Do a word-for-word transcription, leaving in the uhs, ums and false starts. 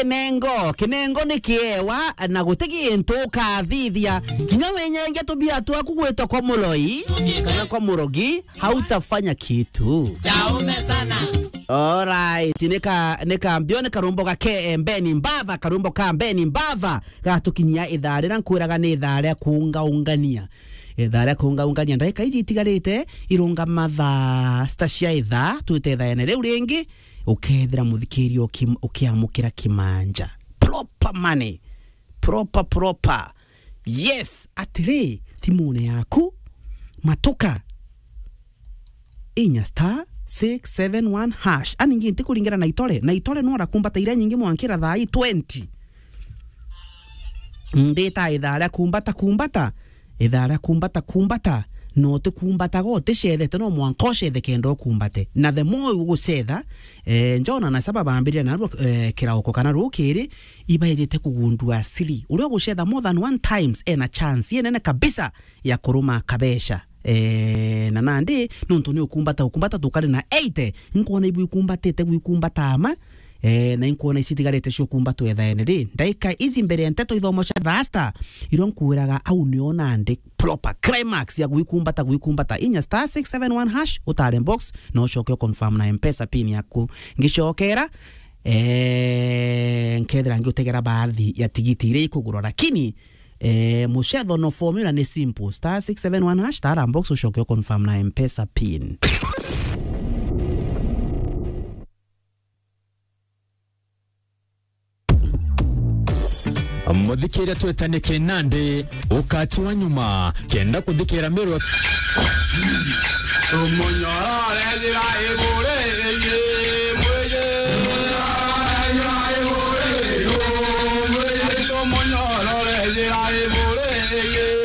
Kinengo, kinengo ni kiewa na guti gintu ukathithia. Kinya winyengia tubia twaku gwitwa kwa muloi kana kwa murogi, hautafanya kitu. Chaume sana. Alright, nika, nika mbio ni karumbo ga K M Beni Mbatha, karumbo ka Beni Mbatha gatukinyia ithaa rira nkwiraga ni ithaa ria kuungaungania. Ithaa ria kuungaungania, ndagika iji itigarite irunga mathaa sita cia ithaa, twite ithaene riu ringi, ukethira muthikiria uki-, ukiamukira kimanja. Proper money. Proper, proper. Yes, atiri, thimune yaku, matuka. Inya star six seven one hash. Ani ngi ntikuringira na itore. Na itore no rakumbata iria nyingi mwankira thaa ii twenty. Ndita ithaa ria kumbata, kumbata. Ithaa ria kumbata, kumbata. No utikumbataga uticethete, no mwanka ucethe kenda ukumbate. Na the more ugucetha, eh, Jona na Saba bambirire narua, eh, kirauko kana rukiri, ibaejete kugundua siri. Uria ugucetha more than one times ena chance inene kabisa ya kuruma kabeca. Eh, na nandi, nontu ni ukumbata, ukumbata tukari na eighty, nkwona ibu ikumbatite gwikumbata ama, eh, na inkwona ici itigarite cia ukumbatwa ithaene ri. Ndaika ici mbere ya nteto ithomo cia thaa sita, irio nkwiraga au nio nandi proper climax ya gwikumbata, gwikumbata. Inya star six seven one hash, utare box, na ucoke uconfirm na M-Pesa pin yaku. Ngicokera, eh, nkethira ngiutegera baathi ya tigiti iria ikugurwa, lakini Eh, mucetho no formula ni simple. Star six seven one hash, tara box ucoke uconfirm na M-Pesa pin. Muthikiria twetane kinandi, ukati wa nyuma, kenda kuthikira Miru. Tumunyorore njira iburi ingi, mwiji. Tumunyorore njira iburi ingi.